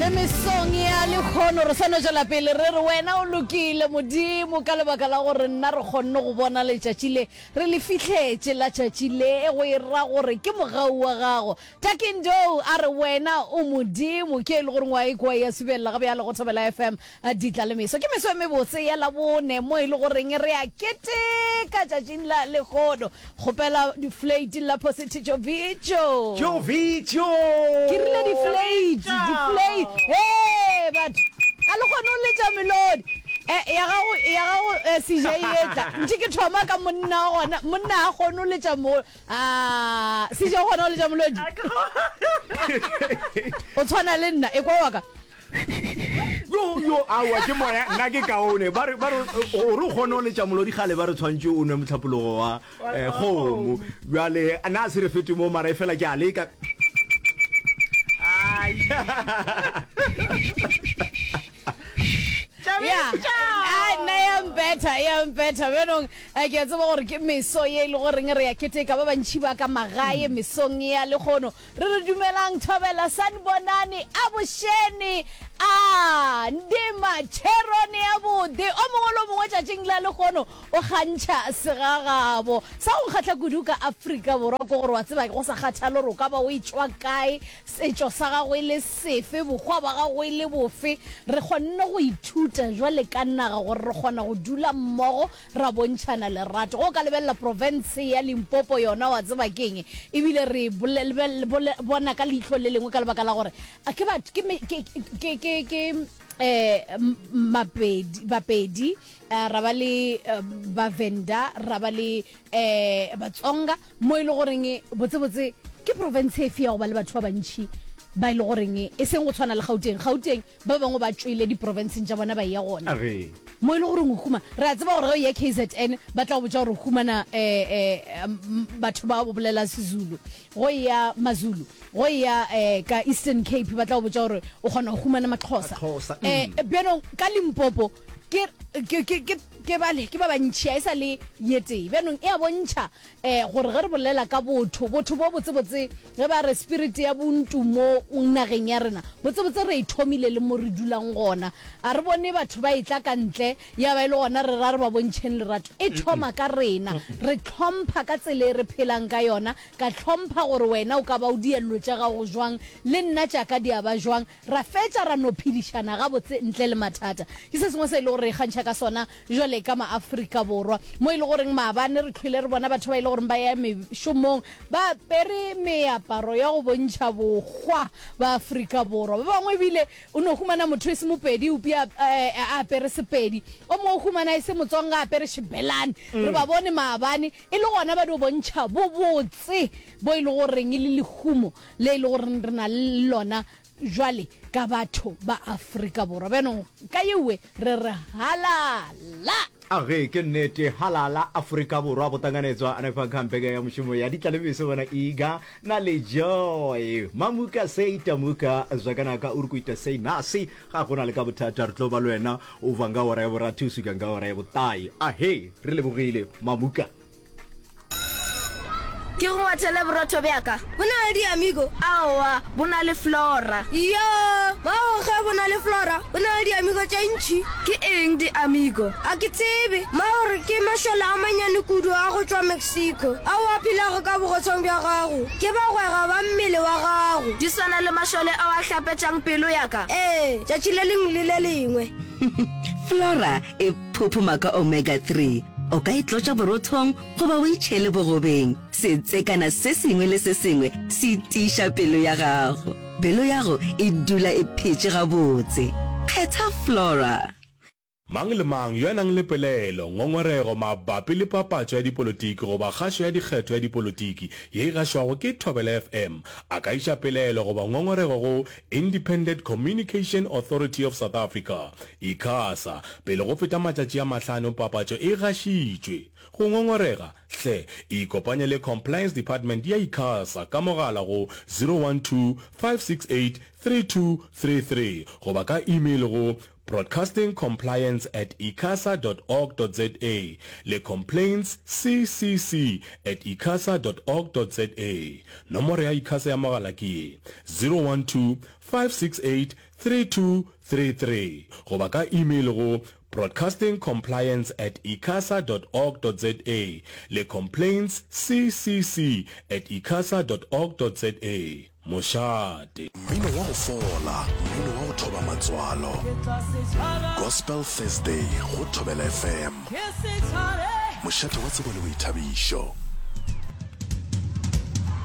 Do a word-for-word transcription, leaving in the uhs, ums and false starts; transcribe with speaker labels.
Speaker 1: Le mesong ya lekgono re sano tšwela pele re re wena o lokile Modimo, ka lebaka la gore nna re kgonne go bona letšatši le re le fihletše la tšatši le, go e ra gore ke mogau wa gago. Takindo a re wena o Modimo, ke e le goreng wa e kwa ya subelela ga bjale go Thobela F M ditla le meso. Ke meso e mebotse ya Labone mo e le goreng re a keteka tšatšing la lekgono. Kgopela diflate la Posithi Tšovitšo.
Speaker 2: Tšovitšo!
Speaker 1: Ke rile diflate, diflate. Hee batho, ga le kgone go letša melodi. Eh, ya gago, ya gago eh, C J e tla. Ntše ke thoma ka monna wa gona, monna ga kgone go letša mo. Ah, C J o kgona go letša molodi? O tshwana le nna, e kwa wa ka.
Speaker 2: Yo, yo, aowa, ke moya, nna ke kaone. Ba re, ba re, gore o kgone go letša molodi kgale ba re tshwantše o nwe mohlapologo wa eh, kgomo. Bjale, na se re fete mo, mara e fela ke a leka.
Speaker 1: Ya, a nna ya mpetha, ya mpetha. Bjanong, eh, ke a tseba gore ke meso ye e le goreng re ya keteka ba bantši ba ka magae mesong ya lekgono. Re re dumelang Thobela, Sanibonani, Abošeni, a Ndima, Tšherone ya bode. O mongwe le o mongwe tšatšing la lekgono o kgantšha segagabo. Sa go nkgahla kudu ka Afrika Borwa ke gore wa tseba go sa kgathale gore o ka ba o etšwa kae, setšo sa gago e le sefe, bohwa ba gago e le bofe, re kgonne go ithuta jwale ka naga gore re kgona go dula mmogo ra bontšhana lerato. Ge o ka lebelela profense ya Limpopo yona wa tseba ke eng, ebile re e bona ka leihlo le lengwe ka lebaka la gore ke batho, ke, ke, ke, ke, ke um Mapedi, Bapedi, ra ba le Bavenda, ra ba le um Batsonga, mo e le goreng botsebotse ke profense efe ya go ba le batho ba bantši ba e le goreng e seng go tshwana le Gauteng. Gauteng ba bangwe ba tšwele diprofenseng tša bona ba eya gona. Mo e le goreng o huma, re a tseba gore ge o eya K Z N ba tla go botša gore o humana um batho ba bolela Sezulu. Go eya Mazulu, go eya um ka Eastern Cape ba tla go botša gore o kgona go humana Maxhosa. Um bjanong ka Limpopo ke, ke, ke, ke, ke bale, ke ba bantši, a e sa le ye tee. Bjanong e a bontšha um gore ge re bolela ka botho, botho bo botsebotse, ge ba re spirit ya buntu mo nageng ya rena, botsebotse re e thomile le mo re dulang gona. A re bone batho ba etla ka ntle, ya ba e le gona re ra re ba bontšheng lerato. E thoma ka rena. Re hlompha ka tsela e re phelang ka yona, ka hlompha gore wena o ka ba o diello tša gago jwang, le nna tša ka di a ba jwang, ra fetša ra no phedišana gabotse ntle le mathata. Ke se sengwe se e le gore re ikgantšha ka sona jwale ka maAfrika Borwa, mo e le goreng maabane re hlwele re bona batho ba e le goreng ba ya mešomong ba apere meaparo ya go bontšha bohwa ba Afrika Borwa. Ba bangwe ebile o no humana motho e se Mopedi eupša a apere Sepedi, o mongwe o humana e se Motsonga a apere Xibelani. Re ba bone maabane e le gona ba dio bontšha bobotse bo e le goreng le lehumo le e le goreng re na le lona jwale ka batho ba Afrika Borwa. Bjanong ka yewe re re halala!
Speaker 2: A ge ke nnete, halala Afrika Borwa go tanganetswa hanefha kha mbekanyamushumo ya Ditlalemeso bona Iga na le Joy. Mamuka sei tamuka zwakanaka uri kuita sei nasi ga gona le ka bothata re tlo ba le wena o bva nga ora ya borathu o swika nga ora ya botae. Ahe re lebogile Mamuka.
Speaker 3: Ke go ngwathele borotho bja ka.
Speaker 4: Bo na le di-amigo?
Speaker 3: Aowa, bo na le Flora.
Speaker 4: Iyoo! Bao ge bo na le Flora, bo na le di-amigo tše ntši.
Speaker 3: Ke eng di-amigo?
Speaker 4: A ke tsebe. Ma o re ke mašole a manyane kudu a go tšwa Mexico ao a phelago ka bogotshong bja gago. Ke bagwera ba mmele wa gago.
Speaker 3: Di swana le mašole ao a hlapetšang pelo ya ka.
Speaker 4: Ee, tšatši le lengwe le le lengwe.
Speaker 5: Flora e phophoma ka omega three. O ka e tlotša borothong goba o e tšhele bogobeng. Setsekana se sengwe le se sengwe se tiiša pelo ya gago. Pelo yago e dula e phetše gabotse. Kgetha Flora.
Speaker 6: Mang le mang yo a nang le pelaelo, ngongorego mabapi le papatšo ya dipolotiki goba kgašo ya dikgetho ya dipolotiki ye e gašwago ke Thobela F M a ka iša pelaelo goba ngongorego go Independent Communication Authority of South Africa, ICASA, pele go feta matšatši a mahlano papatšo e gašitšwe. Go ngongorega, hle ikopanye le Compliance Department ya ICASA ka mogala go zero one two, five six eight, three two three three goba ka email go broadcasting compliance at icasa dot org dot za le complaints c c c at icasa dot org dot za. Nomoro ya ICASA ya mogala ke ye, zero one two, five six eight, three two three three goba ka email go broadcastingcompliance at icasa dot org dot za le complaintsccc at icasa dot org dot za. Mošate.
Speaker 7: Mmino wa go fola, mmino wa go thoba matswalo. Gospel Thursday go Thobela F M. Mošate wa tsebo le boithabišo.